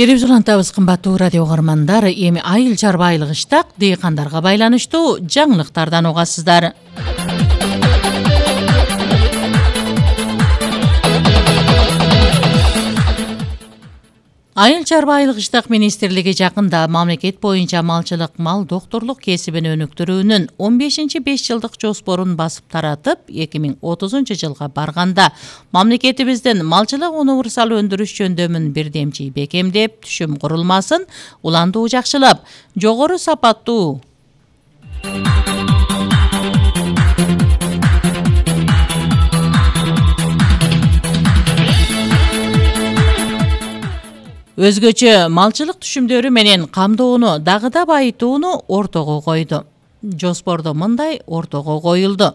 Берип улантабыз кымбаттуу радио угармандар. Эми айыл чарбайлык иштак дыйкандарга байланыштуу жаңылыктардан угасыздар. Айыл чарбайлык иштак министрлиги жакында мамлекет боюнча малчылык мал доктурлук кесибин өнүктүрүүнүн 15-5 жылдык жоспорун басып таратып, 2030 жылга барганда мамлекетибиздин малчылык универсал өндүрүш жөндөмүн бирдемчи бекемдеп, түшүм курулмасын уландуу жакшылап, жогору сапаттуу өзгөчө малчылык түшүмдөрү менен камдоону дагы да байытууну ортого койду. Жоспордо мындай ортого коюлду.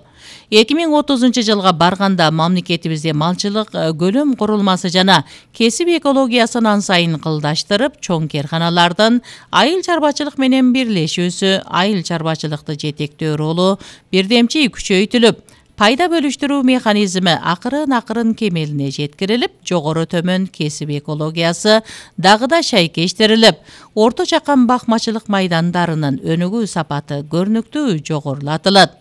2030 жылга барганда мамлекетибизде малчылык көлөм курулмасы жана кесип экологиясын ансайын кылдаштырып, чоң керканалардын айыл чарбачылык менен бирлешүүсү, айыл чарбачылыкты жетектөө ролу бирдемчи күчөйтүлүп, пайда бөлүштүрүү механизми акырын кемелине жеткирилип, жогору төмөн кесип экологиясы дагы да шайкештирилип, орто чакан бакмачылык майдандарынын өнүгүү сапаты көрүнүктүү жогорулатылат.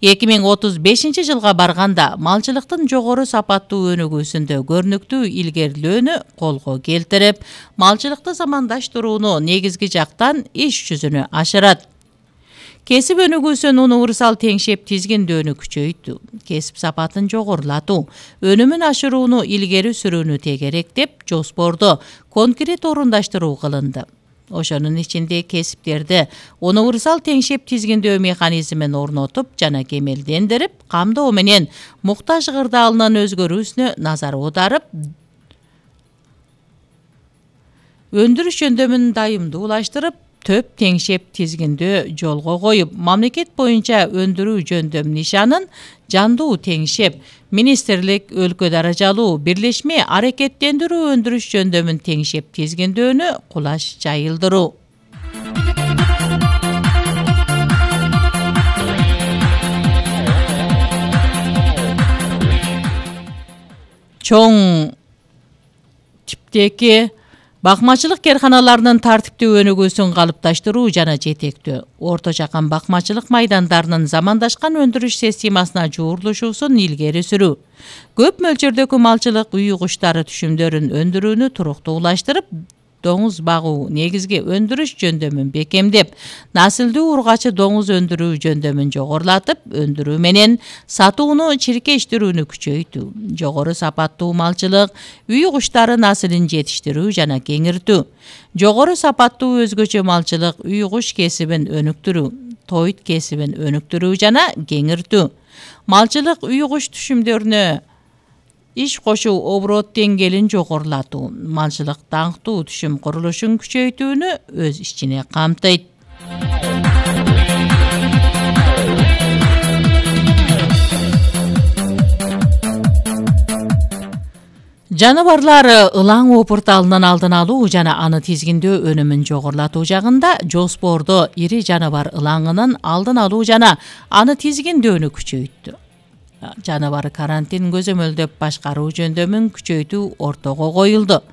2035 жылга барганда малчылыктын жогору сапаттуу өнүгүүсүндө көрүнүктүү илгерилөөнү колго келтирип, малчылыкты замандаштырууну негизги жактан иш жүзүнө ашырат. Кесип өнүгүүсүн универсал теңшеп тизгиндөөнү күчөйтүү, кесип сапатын жогорулатуу, өнүмүн ашырууну илгери сүрүүнү тегеректеп, жоспордо конкрет орундаштыруу кылынды. Ошонун ичинде кесиптерди универсал теңшеп тизгиндөө механизмин орнотуп жана кемелдендирип, камдоо менен муктаж кырдаалынын өзгөрүүсүнө назар аударып, өндүрүш жөндөмүн дайымдуулаштырып, төп теңшеп тизгиндөө жолго коюп, мамлекет боюнча өндүрүү жөндөм нишанын жандуу теңшеп, министрлик өлкө даражалуу бирлешме аракеттендирүү өндүрүш жөндөмүн теңшеп тизгиндөөнү кулаш жайылдыруу. Чоң типтеги бакмачылык керканаларынын тартиптүү өнүгүүсүн калыпташтыруу жана жетектөө, орто чакан бакмачылык майдандарынын замандашкан өндүрүш системасына жуурулушуусун илгери сүрүү, көп мөлчөрдөгү малчылык үй куштары түшүмдөрүн өндүрүүнү туруктуулаштырып, доңуз багуу негизги өндүрүш жөндөмүн бекемдеп, насылдуу ургачы доңуз өндүрүү жөндөмүн жогорулатып, өндүрүү менен сатууну чиркештирүүнү күчөйтүү, жогору сапаттуу малчылык, үй куштары насылын жетиштирүү жана кеңиртүү, жогору сапаттуу өзгөчө малчылык, үй куш кесибин өнүктүрүү, тойт кесибин өнүктүрүү жана кеңиртүү, малчылык үй куш түшүмдөрүнө иш кошуу оборот деңгээлин жогорулатуу, малчылык даңктуу түшүм курулушун күчөйтүүнү өз ичине камтыйт. Жаныбарлар ылаң опурталынын алдын алуу жана аны тизгиндөө өнүмүн жогорулатуу жагында жоспордо ири жаныбар ылаңынын алдын алуу жана аны тизгиндөөнү күчөйттү. Жаныбар карантин көзөмөлдөп башкаруу жөндөмүн күчөйтүү ортого коюлду.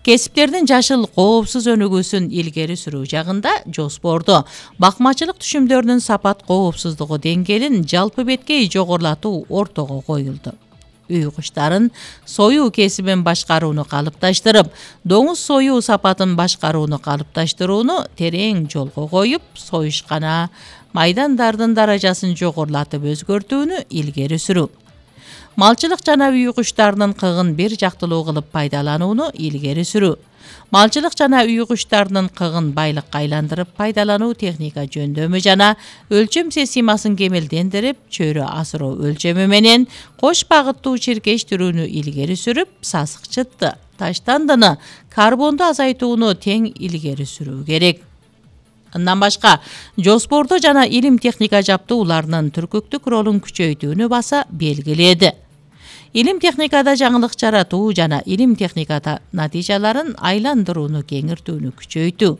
Кесиптердин жашыл коопсуз өнүгүүсүн илгери сүрүү жагында жоспордо бакмачылык түшүмдөрүнүн сапат коопсуздугу деңгээлин жалпы беткей жогорулатуу ортого коюлду. Үй куштарын союу кесибин башкарууну калыпташтырып, доңуз союу сапатын башкарууну калыпташтырууну терең жолго коюп, союшкана майдандардын даражасын жогорулатып өзгөртүүнү илгери сүрүү. Малчылык жана үй куштарынын кыгын бир жактылуу кылып пайдаланууну илгери сүрүү. Малчылык жана үй куштарынын кыгын байлыкка айландырып пайдалануу техника жөндөмү жана өлчөм системасын кемелдендирип, чөйрө асыроо өлчөмү менен кош багыттуу чиркештирүүнү илгери сүрүп, сасыкчытты, таштандыны, карбонду азайтууну тең илгери сүрүү керек. Андан башка, жоспордо жана илим техника жаптууларынын түркүктүк ролун күчөйтүүнү баса белгиледи. Илим техникада жаңылык жаратуу жана илим техникада натыйжаларын айландырууну кеңиртүүнү күчөйтүү.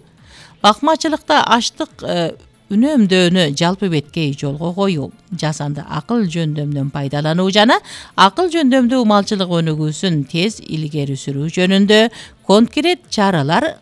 Бакмачылыкта аштык үнөмдөөнү жалпы беткей жолго коюу, жасанды акыл жөндөмдөн пайдалануу жана акыл жөндөмдүү малчылык өнүгүүсүн тез илгери сүрүү жөнүндө конкрет чаралар